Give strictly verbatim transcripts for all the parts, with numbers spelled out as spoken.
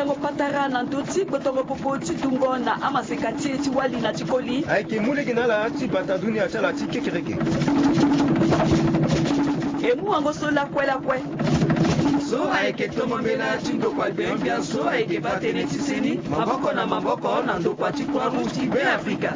Ngo patara na ndö ti gbotongo popo ti dungo na amaseka ti e ti wali na ti koli. Ayeke mu lege na ala ti bata dunia ti ala ti kekereke. E mu wango so lakue lakue. So ayeke tongo mbela ti ndokua gbia gbia so ayeke baa tënë ti seni maboko na maboko na ndokua ti Croix Rouge ti Beafrika.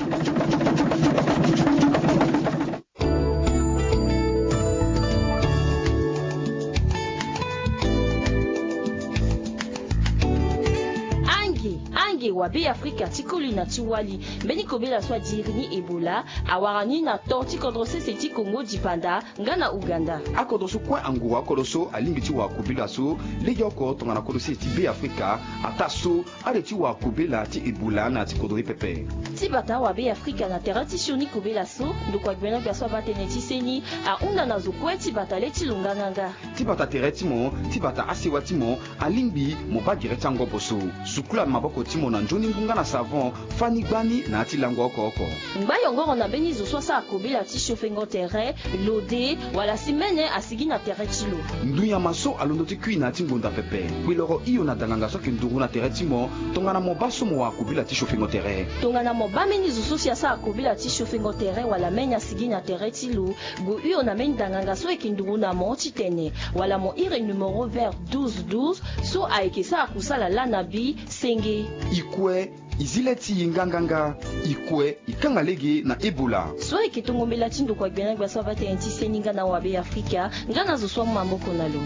Ange, ange wa Beafrika ti koli na ti wali, mbeni kobela so adiri ni Ebola awara ni na to ti kodro sese ti Kongo dipanda nga na Ouganda. Akodro so kue angura akodro so alingbi ti wara kobela so legeoko tongana kodro sese ti Beafrika, ataa so ale ti wara kobela ti Ebola na ya ti kodro ye pepe. Ti bata awa Beafrika na tere ti sioni kobela so, ndokua gbia na gbia so abaa tënë ti seni ahunda na zo kue ti bata le ti lo nganganga. Ti bata tere ti mo, ti bata asewa ti mo, alingbi mo baa gere ti angobo so. Sukula maboko ti mo na nzoni ngu nga na savon, fani gbani na ya ti lango oko oko. Ngba yongoro na mbeni zo so asara kobela ti siofengo tere, lode, wala si mene asigi na tere ti lo. Ndunyama so alondo ti kui na ya ti ngonda pepe, kpeloro hio na danganga so ayeke nduru na tere ti mo, tongana mo baa so mo wara kobela ti siofengo tere. Tongana mo baa mbeni zo so si asara kobela ti siofengo tere wala mene asigi na tere ti lo, gue hio na mbeni danganga so ayeke nduru na mo titene, wala mo iri numero vert douze douze so ayeke sara kusala lana bi senge. I kue, i zi le ti i nganganga. I kue, i kanga lege na Ebola. So ayeke tongo mbela ti ndokua gbia na gbia so abaa tënë ti seni nga na awa Beafrika, nga na zo so amu maboko na lo.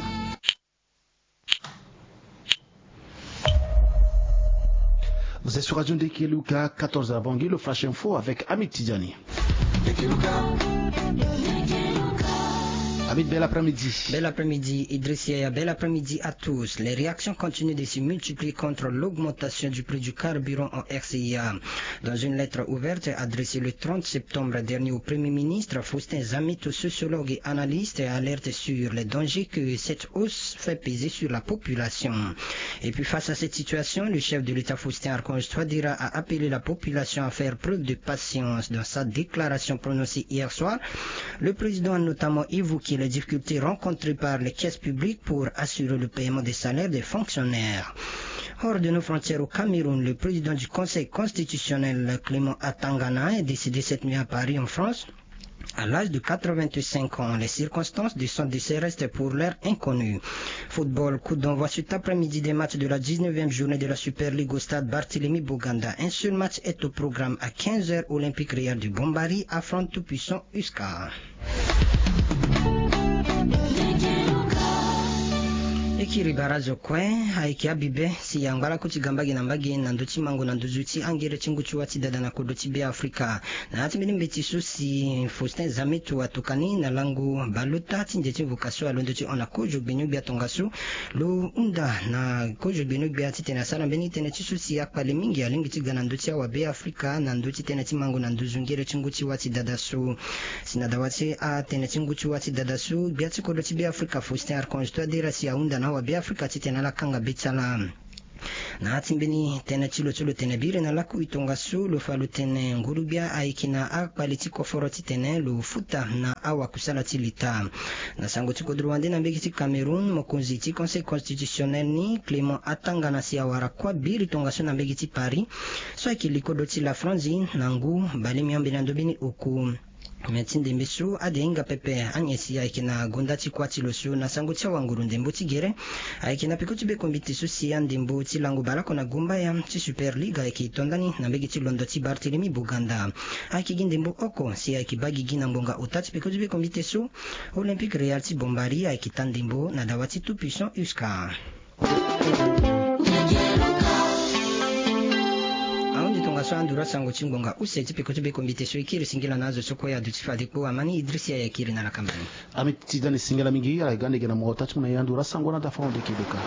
Vous êtes sur Radio Ndekeluka, quatorze heures avant le Flash Info avec Hamid Tidjani. Hamid, bel après-midi. Bel après-midi, Idriss Yaya, bel après-midi à tous. Les réactions continuent de se multiplier contre l'augmentation du prix du carburant en R C I A. Dans une lettre ouverte adressée le trente septembre dernier au Premier ministre, Faustin Zameto, sociologue et analyste, alerte sur les dangers que cette hausse fait peser sur la population. Et puis face à cette situation, le chef de l'État Faustin Archange Touadéra a appelé la population à faire preuve de patience. Dans sa déclaration prononcée hier soir, le président a notamment évoqué les difficultés rencontrées par les caisses publiques pour assurer le paiement des salaires des fonctionnaires. Hors de nos frontières au Cameroun, le président du Conseil constitutionnel, Clément Atangana, est décédé cette nuit à Paris, en France, à l'âge de quatre-vingt-cinq ans. Les circonstances de son décès restent pour l'heure inconnues. Football, coup d'envoi cet après-midi des matchs de la dix-neuvième journée de la Super League au stade Barthélemy Boganda. Un seul match est au programme à quinze heures, Olympique Real de Bombari affronte tout-puissant U S C A. E kiri barazo kue, ayeke abibe si angba lakue ti ga mbage na mbage na ndö ti mango na nduzu ti angere ti ngu ti wâ ti dada na kodro ti Beafrika. Na ya ti mbeni mbeti so si Faustin Zameto atokani na lango baleota ti nze ti mvuka so alondo ti hon na kozo gbinio-gbia tongaso, lo hunda na kozo gbinio-gbia titene asara mbeni tënë ti so si akpale mingi alingbi ti ga na ndö ti awa Beafrika na ndö ti tënë ti mango na nduzu ngere ti ngu ti wâ ti dada so. Si na dawa ti atënë ti ngu ti wâ ti dada so, gbia ti kodro ti Beafrika Faustin Archange Touadéra si ahunda na awa Beafrika titene ala kanga be ti ala. Na ya ti mbeni tënë ti lo so lo tene biri na lakui tongaso, lo fa lo tene nguru-gbia ayeke na akpale ti koforo titene lo futa na awakusala ti leta. Na sango ti kodro wande na mbege ti Cameroun, mokonzi ti Conseil constitutionnel ni, Clément Atangana, si awara kuâ biri tongaso na mbege ti Paris so ayeke likodo ti la France na ngu bale miombe na ndo mbeni oko. Me ti ndembe so ade hinga pepe, anyen si ayeke na gonda ti kuâ ti lo so na sango ti awanguru ndembo ti gere. Ayeke na peko ti be kombite so si andembo ti lango baleoko na gombaya ti Super League ayeke to ndani na mbege ti londo ti Barthélemy Boganda. Ayeke gi ndembo oko si ayeke baa gigi na ngbonga ota ti peko ti be kombite so, Olympique Real ti Bombari ayeke taa ndembo na dawa ti tout-puissant U S C A. Ahunzi tongaso anduru asango ti ngbonga use ti peko ti be kombite so e kiri singila na azo so kue aduti fade kpo. Amani Idriss Yaya kiri na lakamba ni. Ami ti dani singila mingi, ala ga ndege na mo ota ti mo na ye anduru asango na dafa onde kebeka.